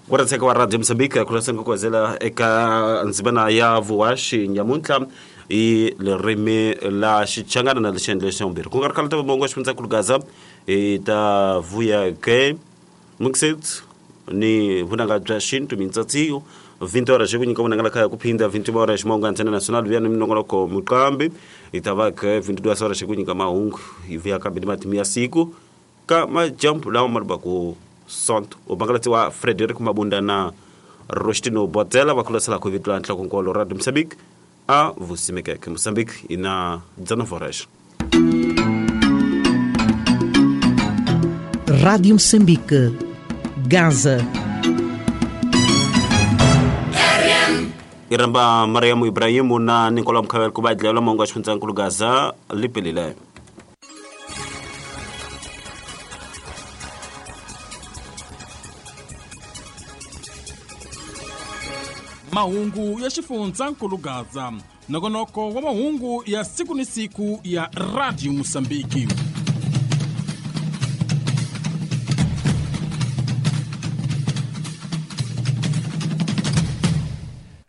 Ku wa Radio Mozambique ku lasa ku eka ndzimana ya vuhaxi nyamuntlha hi ririmi la Xichangana na lexi xa vumbirhi ku nga ri khale ta mongo xifundzankulu Gaza hi ta vuya ke mixit ni vunanga bya xintu mintsatsiyo 20 horas ku nyika vunanga la khaya ku phinda 21 horas mongo antena nacional vuya ni minongonoko muqambi hi ta va ke 22 horas ku nyika mahungu hi vuya kambe ni matimu ya siku ka majambu lawa ma ri ku sonto u bangalatiwa Frederick Mabunda na Rostino Botela va khulasela ku vito la nhlokonkolo Radio Mozambique a vusimekeke Mozambique ina 19 horas. Rádio Moçambique, Gaza. I ramba Mariamu Ibrahimu na Nicola Mkhavel ku va dlayela mongo wa xifundzankulu Gaza lipelile. Mahungu ya xifundzankulu Gaza, nongonoko wa mahungu ya siku ni siku ya Radio Mozambique.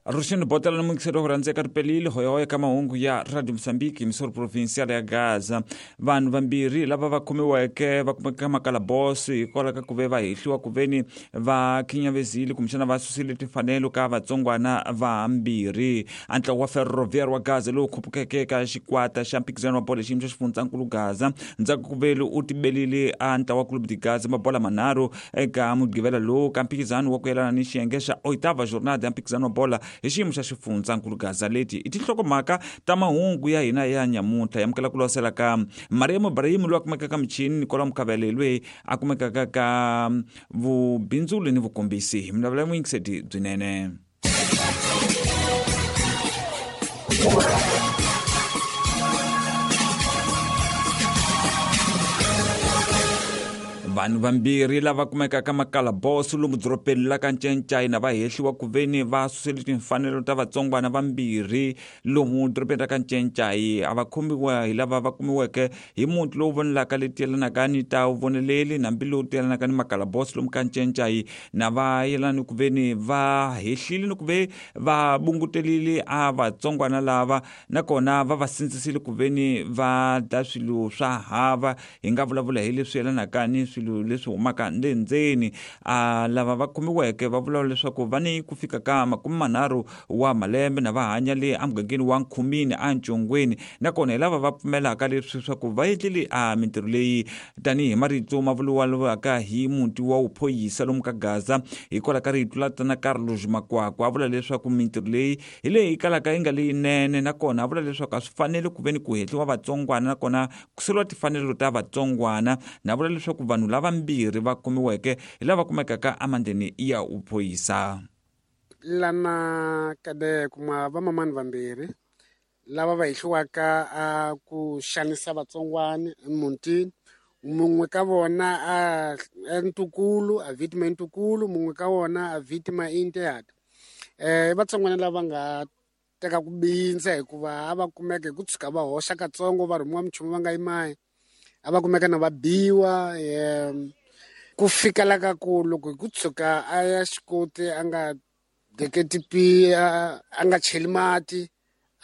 Ruxino Botela na muyingiseri wa ku rhandzeka ripelile hoyahoya ka mahungu ya Radio Mozambique misoro provincial ya Gaza. Vanhu vambirhi lava va khomiweke va kumeka makalabos hikwalaho ka ku ve va hehliwa ku veni va khinyavesile kumbexana va susile timfanelo ka vatsongwana vambirhi. A ntlawa wa Ferroviário wa Gaza lowu khupukeke ka xikwata xa mphikizano wa bolo hi xiyimo xa xifundzankulu Gaza ndzhaku ku veli u tibelile a ntlawa wa Clube de Gaza mabola manharhu eka mugqivela lowu ka mphikizano wa ku yelana ni xiyenge xa oitava jornada ya mphikizano wa bola hi xiyimo xa xifundzankulu Gaza. Leti i tinhlokomhaka ta mahungu ya hina ya nyamuntlha. Ya amukela ku losela ka Mariam Ibrahim loyi a kumekaka ka michini, Nicola Mukhavele loyi a kumekaka ka vubindzuli ni vukombisi. Hi milavula muyingiseti byinene. Vanhu vambirhi lava kumekaka makalabos lomu dorobeni la ka Ncencayina va hehliwa ku veni va susele timfanelo ta vatsongwana vambirhi lomu dorobeni ra ka Ncencayi. A va khomiwa hi lava va kumiweke hi muti lowu vonelaka leti yelanaka ni ta voneleli nambi lowu yelanaka ni makalabos lomu ka Ncencayi, na va yelana ni ku veni va hehlile ni ku ve va bungutelile a vatsongwana lava, nakona va va sindzisile ku veni va dla swilo swa hava. Hi nga vulavula hi leswi yelanaka ni swilo leswi humaka le ndzeni. A lava va khomiweke va vulavula leswaku va ni ku fika ka 30 wa malembe na va hanya le emugangeni wa Nkhumini eNcongweni, nakona hi lava va pfumelaka leswi swa ku va endlile a mintirho leyi tanihi marito ma vuriwaka hi muti wa wuphoyisa lomu ka Gaza hikwalaho ka rito la tana Carlos Makwakwa. A vula leswaku mintirho leyi hi leyi kalaka yi nga leyinene, nakona a vula leswaku a swi fanele ku ve ni ku hehliwa vatsongwana nakona ku suriwa timfanelo ta vatsongwana. Na vula leswaku vanhu lavambirhi va khomiweke hi lava kumekaka emandleni ya wuphoyisa. Lana kade kuma vamamani vambirhi lava va hehliwaka a ku xanisa vatsongwana emutini. Mun'we ka vona a ntukulu a victima ntukulu, mun'we ka vona a victima intehata. Vatsongwana lava nga teka ku bindza hikuva a va kumeka hi ku tshuka va hoxa katsongo va rhumiwa minchumu va nga yimayi, a va kumeka na va biwa. Ku fika la ka ku loko hi ku tshuka a ya xikoti a nga deketi pi, a nga cheli mati,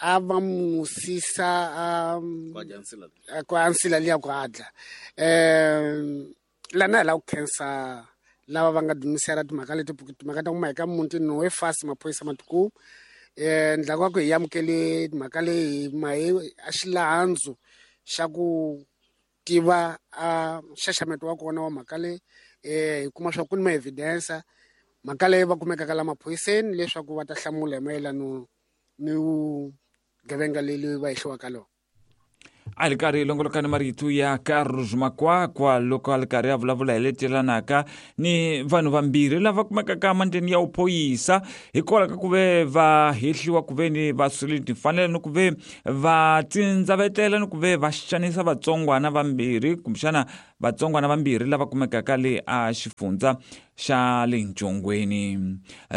a va musisa a ku ansila liya ku adla. Lana hi lava ku khensa lava va nga dumisela timhaka leti, timhaka ta ku ma hi ka mutini no we fast maphorisa matiku. Ndlaku wa ku hi amukele timhaka leyi mahe a xilandzu xa ku tiva a nxaxameto wa kona wa mhaka leyi. Hi kuma swa ku ni ma evidence mhaka leyi va kumekaka la maphoyiseni leswaku va ta hlamula hi mayelano ni vugevenga leyi va hehliwaka lona. A li karhi longolokani marito ya Carlos Makwakwa loko a li karhi a vulavula hi leti yelanaka ni vanhu vambirhi lava kumekaka emandleni ya wuphoyisa hikwalaho ka ku ve va hehliwa ku ve ni va surile timfanelo ni ku ve va tindzavetela ni ku ve va xanisa vatsongwana vambirhi kumbexana vatsongwana vambirhi lava kumekaka le a xifundza xa le Ncongweni.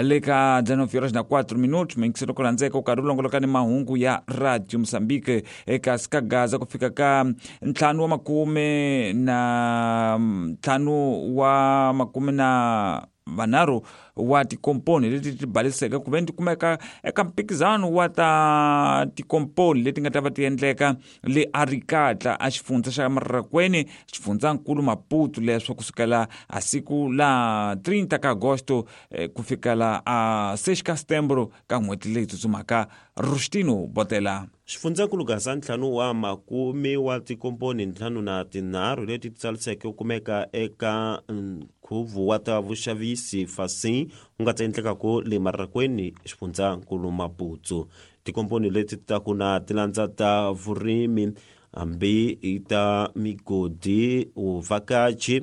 Le ka 19:04 muyingiseri ku rhandzeka u karhi u longoloka ni mahungu ya Radio Mozambique eka ka Gaza ku fika ka 55 na vanharhu wa tikomponi leti ti baliseke ku veni ti kumeka eka mphikizano wa ta tikomponi leti nga ta va ti endleka le Arikatla a xifundza xa Marrakweni, xifundzankulu Maputo, leswo kusukela a siku la 30 ka Agosto ku fikela a 6 ka Setembro ka n'hweti leyi tsutsumaka. Rustino Botela. Xifundzankulu Gaza ntlhanu wa makume wa tikomponi ntlhanu na tinharhu leti ti tsariseke ku kumeka eka nkhuvo wa ta vuxavisi Fasin wu nga ta endlekaka le Marrakweni, xifundzankulu Maputo. Tikomponi leti ta ku na ti landza ta vurimi hambi i ta migodi, vuvhakachi,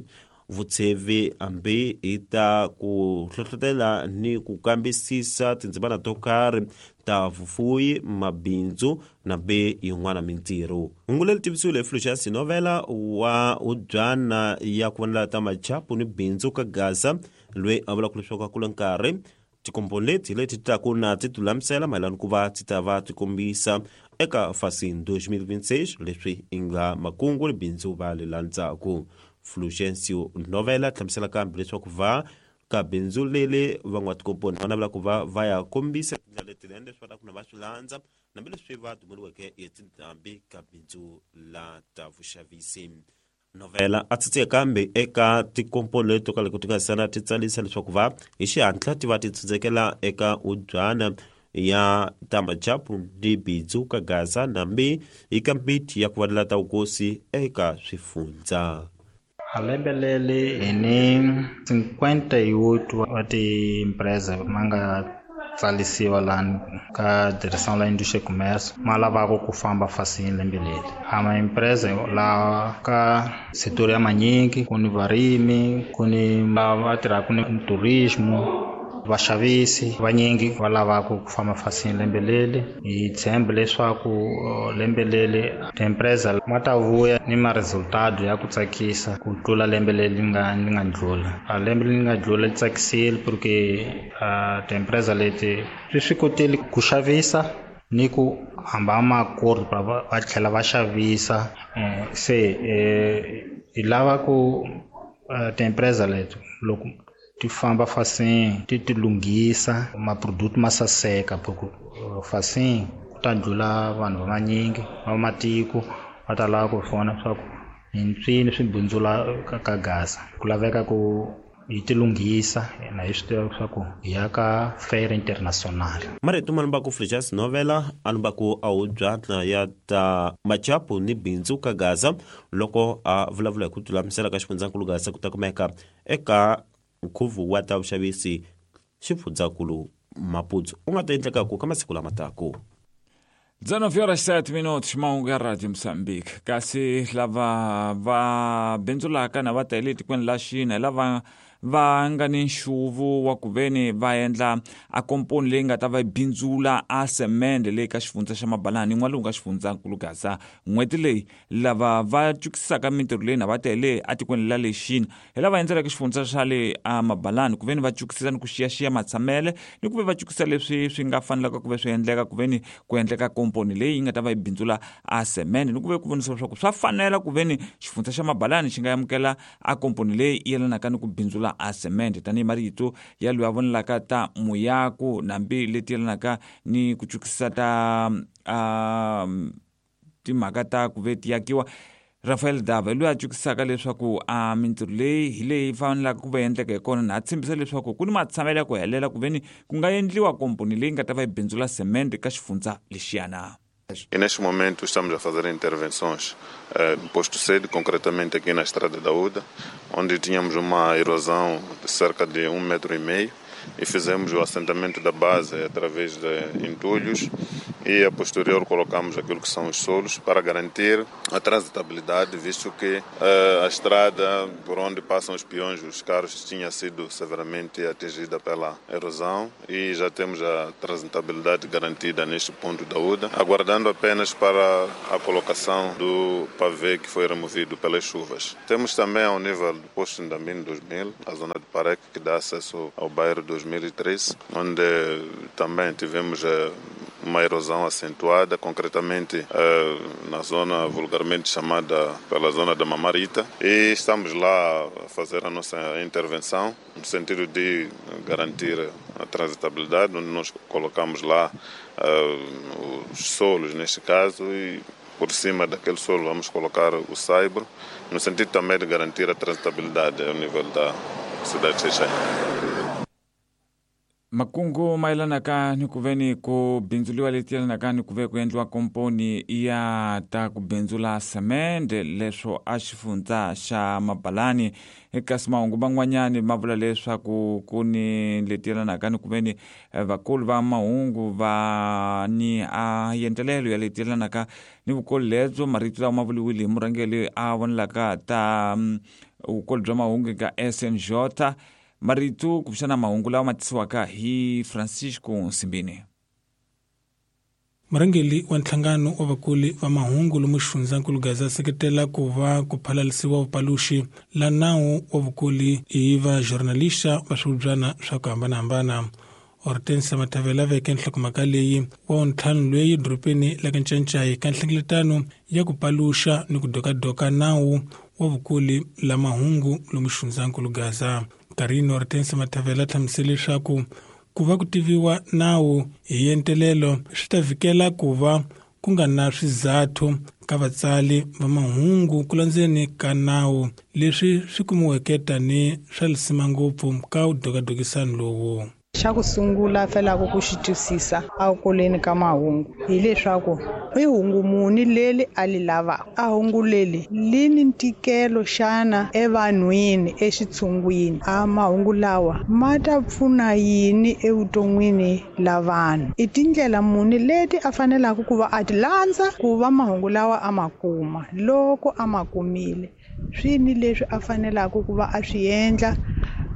vutshevi hambi i ta ku hlohlotela ni ku kambisisa tindzimana to karhi ta vufuwi, mabindzu na be yin'wana mintirho. Hungu leri tivisiwile hi Fulgence Novela wa hubyana ya ku vonela ta machapu ni bindzu ka Gaza, loyi a vulaka leswaku a kule nkarhi tikomponi leti leti ti taku na ti tilulamisela mayelana ku va ti ta va ti kombisa eka Fasin 2026 leswi i nga makungu ni bindzu va le landzaku. Fulgencio Novela hlamusela kambe leswaku va ka bindzu leli van'watikomponi va navela ku va va ya kombisa tindlela letinene leswi va lava ku na va swi landza hambileswi va dumeriweke hi tindhambi ka bindzu la ta vuxavisi. Novela a tsitse kambe eka tikomponi leti to ka loko ti nga sana ti tsalisa leswaku va hi xihatla ti va ti tsindzekela eka ubyana ya Tamajapu ni bindzu ka Gaza nambi eka miti ya ku vanela ta vukosi eka swifundza. A lembe leri hi ni 58 wa tiempresa ma nga tsalisiwa lani ka Direção la Indústria e Comércio ma lavaka ku famba Fasin lembe leri. A maempresa lawa ka setor ya manyingi, ku ni varimi, ku ni lava tirhaka ni turismo, vaxavisi vanyingi va lavaka ku famba Fasin lembe leri. Hi tshemba leswaku lembe leri tiempresa ma ta vuya ni ma resultado ya ku tsakisa ku tlula lembe leri nga nga ndlula. A lembe leri nga ndlula li tsakisile porque tiempresa leti swi swi kotile ku xavisa ni ku hamba makori va tlhela va xavisa. Se hi lava ku tiempresa leti loko ti famba Fasin ti ti lunghisa maproduct ma saseka, porque Fasin ku ta ndlula vanhu va vanyingi va matiko va ta lava ku vona swa ku hi mpfini swi bindzula ka Gaza. Ku laveka ku hi ti lunghisa na hi swi tiva leswaku hi ya ka fair international. Marito ma lumbaku Fulgence Novela a lumbaku a hubyana ya ta machapu ni bindzu ka Gaza loko a vulavula hi ku tilulamisela ka xifundzankulu Gaza ku ta kumeka eka nkhuvo wa ta vuxavisi xifundzankulu Maputo u nga ta endlekaku ka masiku lama taku. 19 horas 7 minutos, mahungu ya Radio Mozambique. Kasi lava va bindzulaka na va ta le tikweni la Xina lava va nga ni nxuvu wa ku veni va endla a komponi leyi nga ta va bindzula a semende leyi ka xifundza xa Mabalani n'walungu ka xifundzankulu Gaza. N'hweti leyi lava va cukisaka mintirho leyi na va tele etikweni la le Xina hi lava endzelaka xifundza xa le a Mabalani ku veni va cukisisa ni ku xiyaxiya matshamele ni ku ve va cukisa leswi swi nga fanelaka ku ve swi endleka ku veni ku endleka komponi leyi yi nga ta va yi bindzula a semende ni ku ve ku vonisa leswaku swa fanela ku veni xifundza xa Mabalani xi nga amukela a komponi leyi yelanaka ni ku bindzula a semende tanihi marito ya loyi a vonelaka ta muyaku nambi leti yelanaka ni ku cukisa ta timhaka ta ku ve ti yakiwa. Rafael Dava loyi a cukisaka leswaku a mintirho leyi hi leyi fanelaka ku va endleka hi kona na a tshembisa leswaku ku ni matshamelo ya ku helela ku veni ku nga endliwa komponi leyi nga ta va yi bindzula semende ka xifundza lexiyana. E neste momento estamos a fazer intervenções no posto sede, concretamente aqui na Estrada da Uda, onde tínhamos uma erosão de cerca de 1,5 metros e fizemos o assentamento da base através de entulhos e a posterior colocamos aquilo que são os solos para garantir a transitabilidade, visto que a estrada por onde passam os peões, os carros, tinha sido severamente atingida pela erosão e já temos a transitabilidade garantida neste ponto da UDA, aguardando apenas para a colocação do pavê que foi removido pelas chuvas. Temos também ao nível do posto Ndambini 2000, a zona de Parec, que dá acesso ao bairro 2003, onde também tivemos uma erosão acentuada, concretamente na zona vulgarmente chamada pela zona da Mamarita, e estamos lá a fazer a nossa intervenção. no sentido de garantir a transitabilidade, onde nós colocamos lá os solos, neste caso, e por cima daquele solo vamos colocar o saibro, no sentido também de garantir a transitabilidade ao nível da cidade de Xai-Xai. Makungu mayelanaka ni ku ve ni ku bindzuliwa leti yelanaka ni ku ve ku endliwa komponi ya ta ku bindzula semende leswo a xifundza xa Mabalani. Kasi mahungu man'wanyani ma vula leswaku ku ni leti yelanaka ni ku ve ni vakulu va mahungu va ni a yentelelo ya leti yelanaka ni vukulu lebyo. Marito lawa ma vuriwile hi murhangeri a vonelaka ta vukulu bya mahungu eka SNJ. Marito kumbexana mahungu lawa ma tisiwaka hi Francisco Nsimbini. Murhangeri wa nhlangano wa vakuli va mahungu lomu xifundzankulu Gaza seketela ku va ku phalalisiwa vupaluxi la nawu wa vukuli hi va journalista va swivubyana swa ku hambanahambana. Hortensia Mathavela veke nhlokomhaka leyi wa ntlhanu loyi dorobeni la ka Ncancai ka nhlengeletano ya ku paluxa ni ku dokadoka nawu wa vukuli la mahungu lomu xifundzankulu Gaza. Karino Hortensia Mathavela hlamusele leswaku ku va ku tiviwa nawu hi entelelo swi ta vhikela ku va ku nga na swizathu ka vatsali va mahungu ku landzeni ka nawu leswi swi kumiweke tani swa lisima ngopfu ka wudokadokisano lowu. Xa ku sungula felaka ku xi twisisa ekuleni ka mahungu hileswaku i hungu muni leri a li lavaka, a hungu leri li ni ntikelo xana evanhwini exitshungwini, a mahungu lawa ma ta pfuna yini evuton'wini la vanhu, i tindlela muni leti a fanelaka ku va a ti landza ku va mahungu lawa a ma kuma, loko a ma kumile swini leswi a fanelaka ku va a swi endla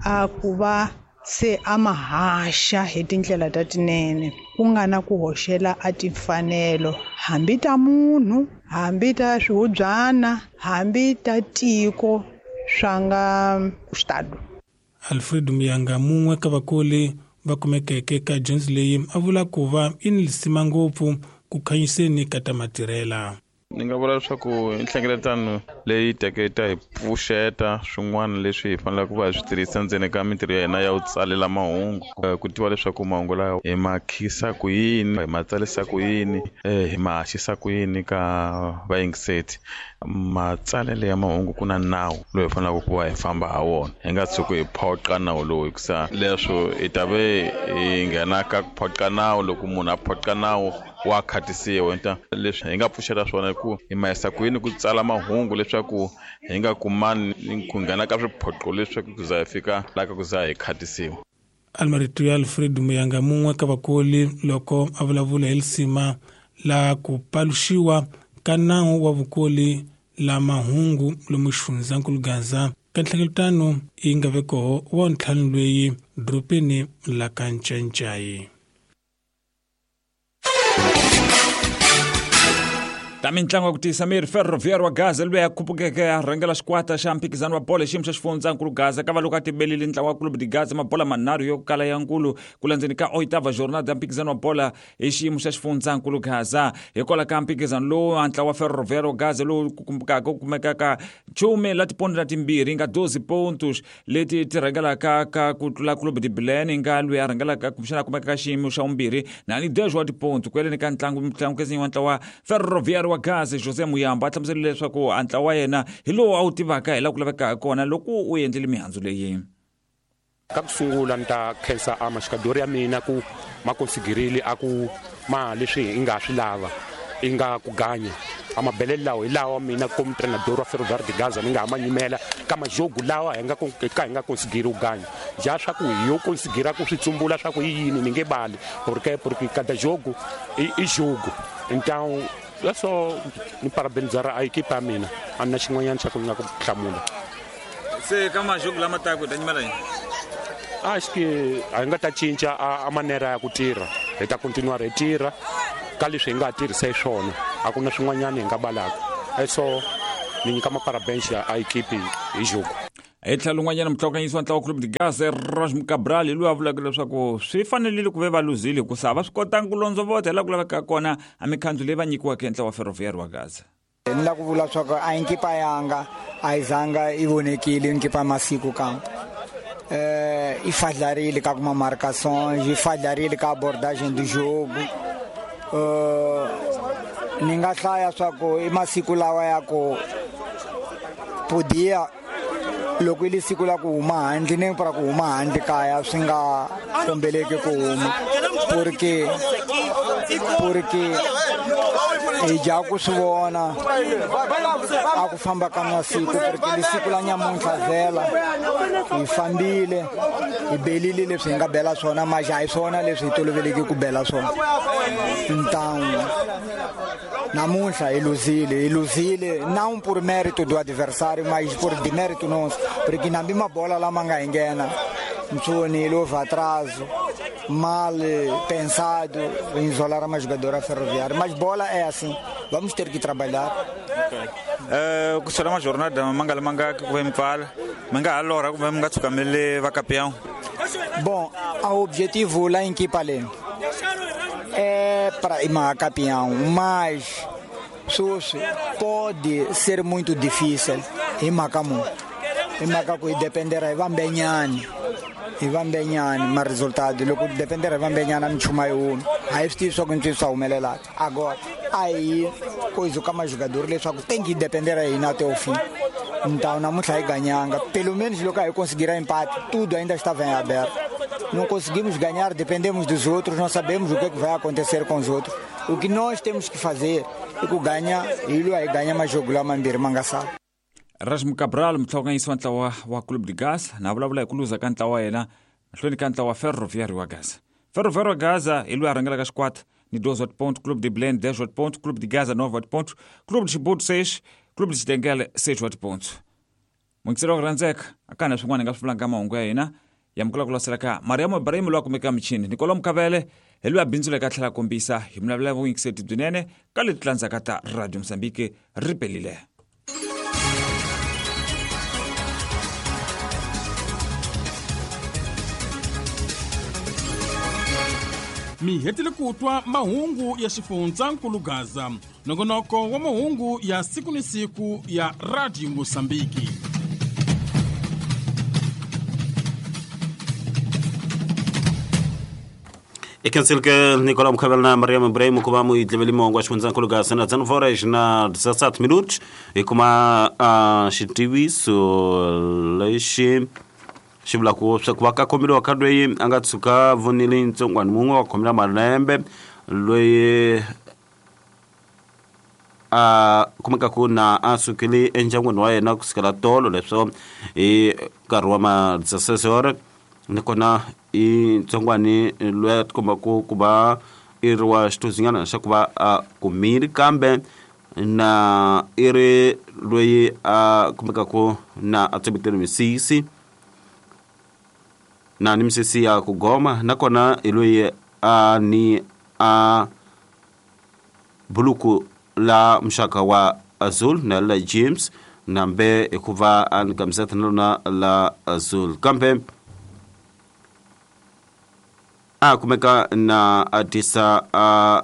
a ku va se a ma haxa hi tindlela ta tinene, ku nga na ku hoxela a timfanelo hambi ta munhu, hambi ta swihubyana, hambi ta tiko swa nga xitalo. Alfred Muyanga mun'we ka vakuli va kumekeke ka dyondzo leyi a vula ku va i ni lisima ngopfu ku khanyiseni ka ta matirhela. Ni nga vula leswaku i nhlengeletano leyi teke ta hi pfuxeta swin'wana leswi hi faneleke ku va hi swi tirhisa ndzeni ka mintirho ya hina ya ku tsalela mahungu, ku tiva leswaku mahungu lawa hi ma khisa ku yini, hi ma tsarisa ku yini, hi ma haxisa ku yini ka vayingiseti. Matsalelo ya mahungu ku na nawu lowu hi faneleke ku va hi famba ha wona, hi nga tshuki hi phoqa nawu lowu, hikusa leswo hi ta ve hi nghena ka ku phoqa nawu. Loko munhu a phoqa nawu wa khatisiwa. Leswi hi nga pfuxela swona i ku hi ma yisa ku yini ku tsala mahungu leswaku hi nga kumani ku nghena ka swiphoqo leswaku ku za hi fika laha ka ku za hi khatisiwa. Almarito ya Alfred Muyanga mun'we ka vakoli loko a vulavula hi lisima la ku paluxiwa ka nawu wa vukoli la mahungu lomu xifundzankulu Gaza ka nhlengeletano yi nga ve koho wa ntlhanu loyi dorobeni la ka Ncancai. Ta mintlangu ya ku tiyisa miri, Ferroviário wa Gaza loyi a khupukeke a rhangela xikwata xa mphikizano wa bolo hi xiyimo xa xifundzankulu Gaza ka va loko a tibelile ntlawa wa Clube de Gaza mabola manharhu yo kala ya nkulu ku landzeni ka oitava jornada ya mphikizano wa bola hi xiyimo xa xifundzankulu Gaza. Hikwalaho ka mphikizano lowu a ntlawa wa Ferroviário wa Gaza lowu kumbukaka ku kumekaka nchumu la tipondo na timbirhi nga 12 pontos leti ti rhangelaka ka ku tlula Clube de Belém nga loyi a rhangelaka kumbexana a kumeka ka xiyimo xa vumbirhi na ni 10 wa tiponto. Ku yeleni ka ntlangu mutlangukezinyi wa ntlawa Ferroviário wa Gaza José Muyamba a hlamusele leswaku a ntlawa wa yena hi lowu a wu tivaka hi laha ku lavekaka hi kona loko u endlile mihandzu leyi. Ka ku sungula ni ta khensa a maxikadori ya mina ku ma konsigirile a ku ma leswi hi nga swi lava i nga ku ganya a mabelelo lawa hi lawa mina komu trenador wa Ferroviário de Gaza ni nga ha ma nyimela ka majogo lawa hi nga ka hi nga konsigiri ku ganya ja swa ku hi yo konsigira ku swi tsumbula swa ku i yini ni nge bali porque porque cada jogo i jogo. Então leswo ni parabenizar a equipe ya mina, a ni na xin'wanyana xa ku ni nga ku hlamula. Se ka majogo lama taka hi ta nyimela yini? Acho que a hi nga ta cinca a manera ya ku tirha, hi ta continuar hi tirha ka leswi hi nga tirhisa hi swona, a ku na swin'wanyana hi nga balaka. So ni nyika maparabens ya a equipe hi jogo. Hi tlhelo rin'wanyana mutlhokanyisi wa ntlawa Clube de Gaza Raj Cabral hi loyi a vulaka leswaku swi fanerile ku ve va luzile hikusa a va swi kotangi ku londzovota hi laha ku lavekaka kona a mikhandzu leyi va nyikiwaka hi ntlawa wa Ferroviário wa Gaza. Ni la ku vula swa ku a yi nkipa yanga a yi zanga yi vonekile nkipa masiku kambe. E falhar ele com algumas marcações, e falhar ele com a abordagem do jogo. Ni nga hlaya swa ku i masiku lawa ya ku podia loko i li siku la ku huma handle ni para ku huma handle kaya swi nga kombeleki ku huma porque hi dya ku swi vona a ku famba ka masiku porque li siku la nyamuntlha vhela hi fambile hi belile leswi hi nga bela swona mas a hi swona leswi hi toloveleke ku bela swona. Então namuntlha hi luzile não por mérito do adversário, mas por demérito nosso, porque na mesma bola lá manga nghena ntsoni houve atraso mal pensado em isolar uma jogadora ferroviária, mas bola é assim, vamos ter que trabalhar. Ku sola uma jornada manga manga ku vem pfala manga alora ku vem nga tshukamele va campeão. Bom, o objetivo lá em Kipale é para ir campeão, mas isso pode ser muito difícil em Macamu. Em Macacu depender aí vamos bem, mas resultado logo depender vamos bem na chuma eu. Aí só que só o melhor. Agora aí coisa que mais jogador ele só tem que depender aí até o fim. Então não muito aí ganhando, pelo menos logo aí conseguirá empate, tudo ainda está bem aberto. Não conseguimos ganhar, dependemos dos outros, não sabemos o que é que vai acontecer com os outros. O que nós temos que fazer é que ganha, ele aí ganha mais jogo lá mambir mangaçado. Rasmu Cabral mtlhokanyisi wa ntlawa wa Clube de Gaza na vulavula hi ku luza ka ntlawa wa yena mahlweni ka ntlawa wa Ferroviário wa Gaza. Ferroviário wa Gaza hi loyi a rhangelaka xikwata ni 12 pontos, Clube de Belém 10 pontos, Clube de Gaza 9 pontos, Clube de Chibuto 6, Clube de Xitengele 6 pontos. Mungiselo wa ku rhandzeka a ka na swin'wana hi nga swi vulanga mahungu ya hina ya mukula ku lasela ka Mariam Ibrahim loyi a kumeka michini, Nicolau Mukavele hi loyi a bindzuleke a tlhela a kombisa hi vulavula vuyingiseti byinene ka leti landzaka ta Radio Mozambique ri pelile. Mi hetile ku twa mahungu ya xifundzankulu Gaza, nongonoko wa mahungu ya siku ni siku ya Radio Mozambique. Ikensilke Nicolau Mukavele na Mariam Ibrahim ku va mu yi dleveli mahungu ya xifundzankulu Gaza na 19 horas na 17 minutos hi kuma xitiviso lexi xi vula ku swa ku va ka khomeriwa ka loyi a nga tshuka vonile ntsongwana mun'we wa khomela malembe loyi a kumekaku na a sukile endyangwini wa yena kusukela tolo leswo hi nkarhi wa ma 16 horas nakona i ntsongwani loyi a tikombaku ku va i ri wa xituzinyana xa ku va a kumile kambe na i ri loyi a kumekaku na a tsemetele misisi na ni misisi ya ku goma nakona i loyi a ni a buluku la muxaka wa azul na la James nambe hikuva a ni kamiseta na lona la azul kambe a kumeka na a tisa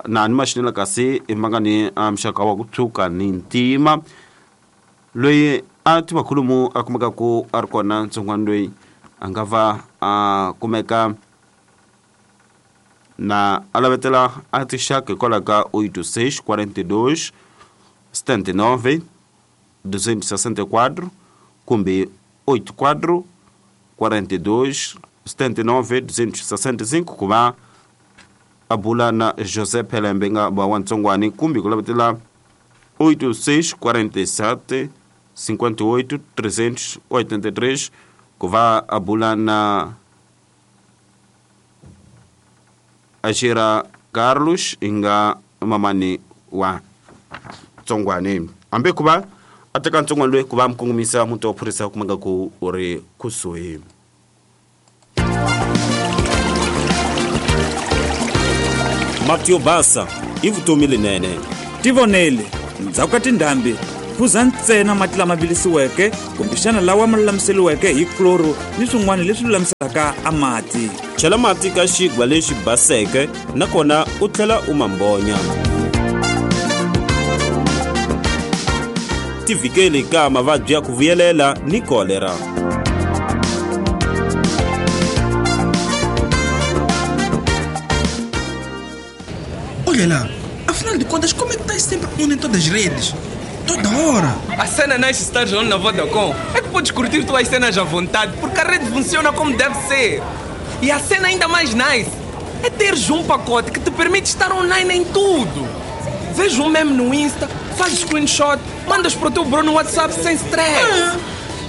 na ni maxinela kasi i manga ni muxaka wa ku tshuka ni ntima loyi a tiva khulumu a kumeka ku a ri kona ntsongwana loyi a nga va a kumeka na a lavetela a tixaka hikwalaho ka 86 42 79 264 kumbe 84 42 79 265 ku va a bula na José Pelembe nga va wa ntsongwani kumbe ku lavetela 86 47 58 383 ku va a bula na Ashira Carlos inga mamani wa tsongwani ambe ku va a teka ntsongwani loyi ku va mukongomisa muti wa phorisa kumeka ku u ri kusuhi. Mati yo basa i vutomi lenene. Tivonele ndzhaku ka tindhambi phuza ntsena mati lama vilisiweke kumbexana lawa ma lulamiseriweke hi chloro ni swin'wana leswi lulamisaka a mati. Chela mati ka xigwa lexi baseke nakona u tlhela u mambonya. Tivikeli ka mavabyi ya ku vuyelela ni kolera. Kela, afinal de contas, como é que estás sempre on em todas as redes? Toda hora. A cena nice estar on na Vodacom é que podes curtir tuas cenas à vontade, porque a rede funciona como deve ser. E a cena ainda mais nice é teres um pacote que te permite estar online em tudo. Vês um meme no Insta, fazes screenshot, mandas para o teu bro no WhatsApp sem stress.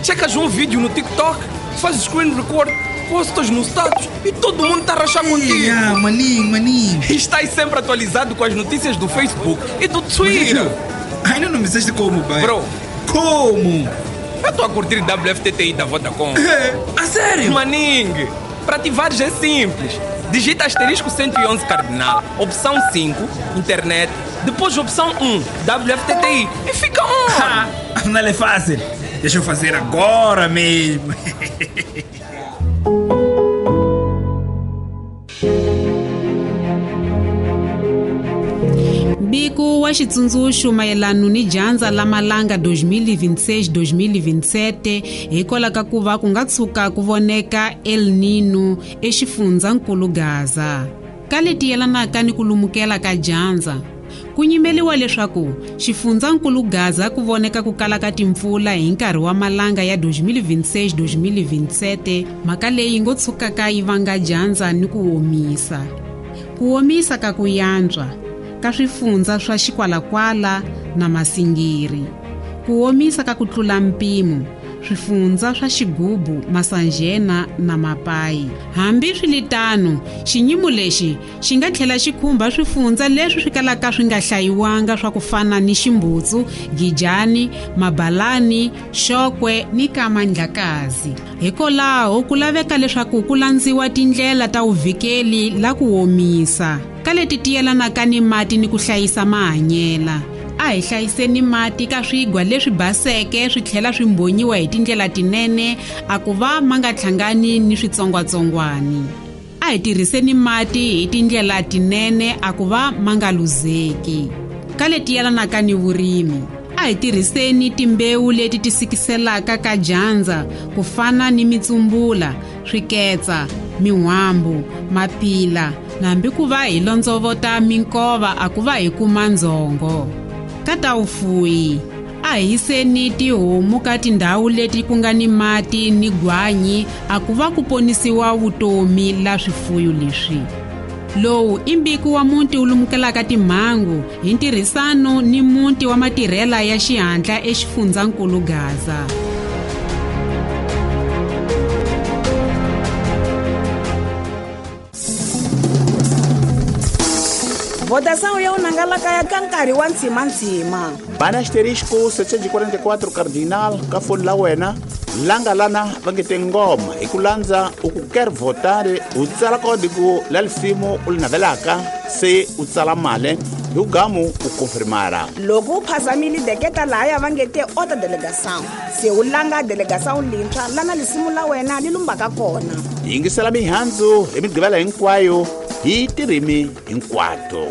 Checas um vídeo no TikTok, fazes screen record, postas no status e todo mundo está a rachar contigo. Ah, maninho. E estás sempre atualizado com as notícias do Facebook e do Twitter. Ainda não me disseste como, pai. Bro. Como? Eu estou a curtir WFTTI da Vodacom. A sério? Maningue, para ativares é simples. Digita asterisco 111 cardinal, opção 5, internet, depois opção 1, WFTTI e fica on! Afinal é fácil. Deixa eu fazer agora mesmo. Mbiko wa xitsundzuxo mayelana ni dyandza la malanga 2026-2027 hikwalaho ka ku va ku nga tshuka ku voneka El Nino exifundzankulu Gaza. Ka leti yelanaka ni ku lumukela ka dyandza, ku nyimeliwa leswaku xifundzankulu Gaza ku voneka ku kala ka timpfula hi nkarhi wa malanga ya 2026-2027, mhaka leyi ngo tshukaka yi vanga dyandza ni ku omisa. Ku omisa ka ku yantswa ka swifundza swa Xikwalakwala na Masingiri, ku omisa ka ku tlula mpimo swifundza swa Xigubu, Masanjena na Mapayi. Hambi swiritano, xinyimo lexi xi nga tlhela xi khumba swifundza leswi swi kalaka swi nga hlayiwanga swa ku fana ni Ximbutsu, Gijani, Mabalani, Xokwe ni Kamandlakazi. Hikwalaho ku laveka leswaku ku landziwa tindlela ta vuvikeli la ku omisa ka leti ti yelanaka ni mati ni ku hlayisa mahanyela. A hi hlayiseni mati ka swigwa leswi baseke swi tlhela swi mbonyiwa hi tindlela tinene a ku va ma nga hlangani ni switsongwatsongwani. A hi tirhiseni mati hi tindlela tinene a ku va ma nga luzeki. Ka leti yelanaka ni vurimi, a hi tirhiseni timbewu leti ti sikiselaka ka dyandza ku fana ni mitsumbula, swiketsa, min'wambu, mapila, hambi ku va hi londzovota minkova a ku va hi kuma ndzhongo. Ka ta vufuwi, a hi yiseni tihomu ka tindhawu leti ku nga ni mati ni gwanyi a ku va ku ponisiwa vutomi la swifuyo leswi. Lowu i mbiko wa muti wu lumukelaka timhangu hi ntirhisano ni muti wa matirhela ya xihatla exifundzankulu Gaza. Votação ya unangalaka ya ka nkarhi wa ntshimantsima. Bana asterisco 744 cardinal ka foni la wena langa lana va nge tingoma hi ku landza u ku quer votar u tsala kodigo la lisimu u li navelaka se u tsala mali hi gamu u confirmara. Loko u phazamile deketa lahaya va nge te ota delegação se u langa delegação lintshwa lana lisimu la wena li lumbaka kona. Yingisela mihandzu hi migqivela hinkwayo hi tirimi hinkwato.